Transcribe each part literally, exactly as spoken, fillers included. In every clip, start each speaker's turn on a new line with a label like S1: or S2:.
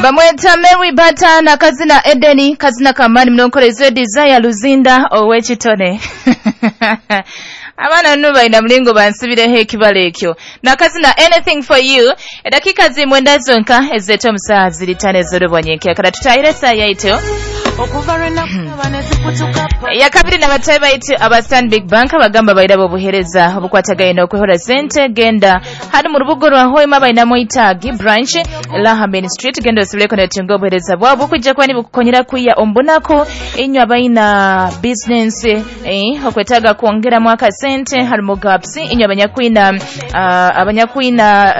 S1: Bamweta Mary Bata na kazina Edeni, kazina kamani mnonkorezo Desire Luzinda owekitone. Abaana nno balina mulingo bansibireho ekibala ekyo. Na kazina Anything for You. Edakika zimwenda zonka ezeeta omusaha ziri ttaano ez'olubwanyenkya. Kala tutahire essaaha yaitu yakabiri n'abatayi baitu aba Stanbic Bank abagamba bairaba obuheereza obukwatagaine n'okwehora sente. Genda hano mu rubuga rwa Hoima bainamu Itaagi branch Laha Main Street, genda osibireko netunga obuheereza bwabo bukujja kuba nibukukonyera kwiya omubunaku inywe abaina business eh, okwetaaga kwongeramu akasente harimu gaps inywe abanyakwina uh, abanyakwina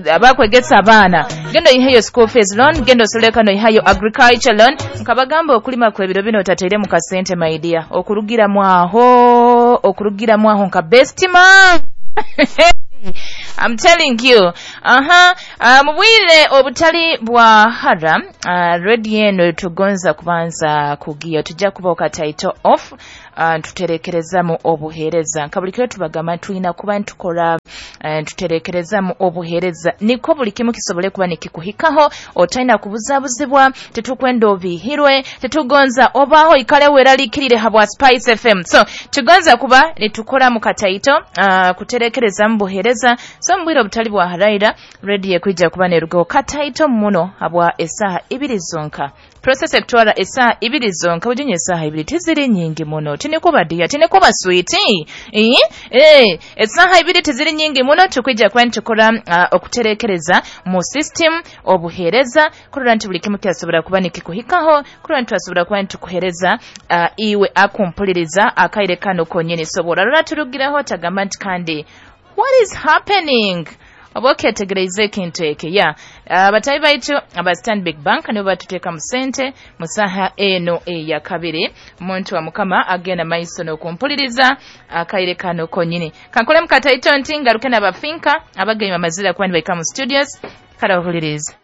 S1: uh, abakwegesa abaana, genda oyiheyo school fees loan, genda osobole kano oyihayo agriculture loan. Nkabagamba okulima kwebiro bino otateire mu kasente my dear, okurugiramu aho okurugiramu aho nka best man. I'm telling you. Aha, uh, mubwire obutali bwa hara uh, radio eno tugonza kubanza kugiya tujja kuba okataito off uh, tuterekerezamu obuheereza nka buli kiro tubagamba tulina kuba ntukora uh, tuterekerezamu obuheereza niko buli kimu kisobole kuba nikikuhikaho, otalina kubuzabuzibwa, tetukwenda obihirwe, tetugonza obaho ikale weralikirire habwa Spice F M. So tugonza kuba nitukora mu kataito uh, kuterekerezamu buheereza. So mbwira obutali bwa haraira radio ekwijja kuba nerugaho kataito muno habwa esaha ibiri zonka. Process ekutwara esaha ibiri zonka, ujinye esaha ibiri tiziri nyingi muno, tinikuba dia tinikuba sweet eh eh esaha ibiri tiziri nyingi muno. Tukwijja kuba nitukora uh, okuterekereza mu system obuheereza kurora nti buli kimu kyasobora kuba nikikuhikaho, kurora nti twasobora kuba nitukuhereza uh, iwe akumpuliriza akaire kano konyini. Sobora rora turugiraho tagamba nti kandi what is happening? Oba okyetegereza ekintu ekyo ya abatayi baitu aba Stanbic Bank nibo batuteeka mu ssente mu saaha eno eya kabiri. Omuntu wa Mukama agenda maiso n'okumpuliriza akaire kano konyini. Kankole mu kataito nti ngaruke n'abafinka abagenyi bamazira kuba nibaika mu studios. Kale ohuliriza.